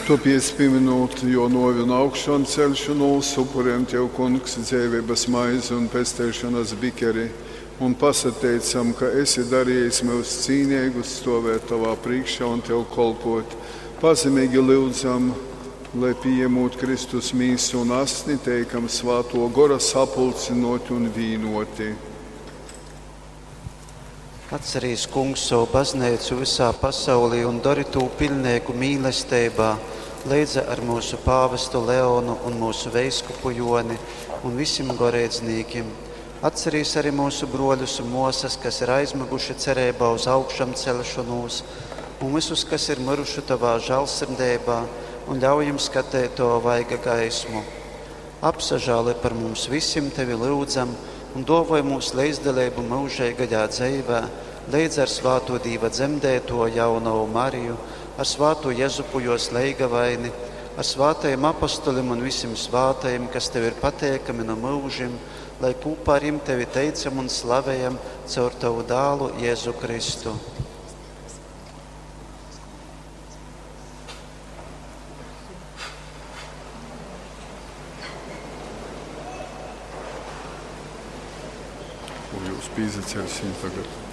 Tuopiec, pīminūt juo nuovi un augšonceļšonūs, upurejam Tev, Kungs, dzeiveibys maizi un pesteišonys bikeri un pasateicam, ka esi dariejis myus cīneigus stuovēt Tovā prīškā un Tev kolpuot. Pazemeigi lyudzam, lai, pījamūt Kristus mīsu un asni, teikam Svātuo Gora sapulcynuoti un vīnuoti. Atcerīs, Kungs, sovu bazneicu vysā pasaulī un dori tū piļneigu mīlesteibā, leidza ar myusu pāvestu Leonu un myusu veiskupu Joni un visim goreidznīkim. Atcerīs arī myusu bruoļus un muosas, kas ir aizmyguši cereibā uz augšamceļšonūs, un vysus, kas ir myruši tovā žālsirdeibā, un ļauj jim skateit tova vaiga gaismu. Apsažāloj par mums visim, tevi lyudzam, un duovoj mums leidzdaleibu myužeigajā dzeivē, leidz ar svātū Dīva dzemdēto jaunovu Mariju, ar svātū Jezupu juos leigavaini, ar svātajim apostolim un visim svātajim, kas tev ir pateikami no myužim, lai kūpā ar jim tevi teicam un slavejam caur tavu dālu Jēzu Kristu. Kū jūs pīsaceļsim tagad?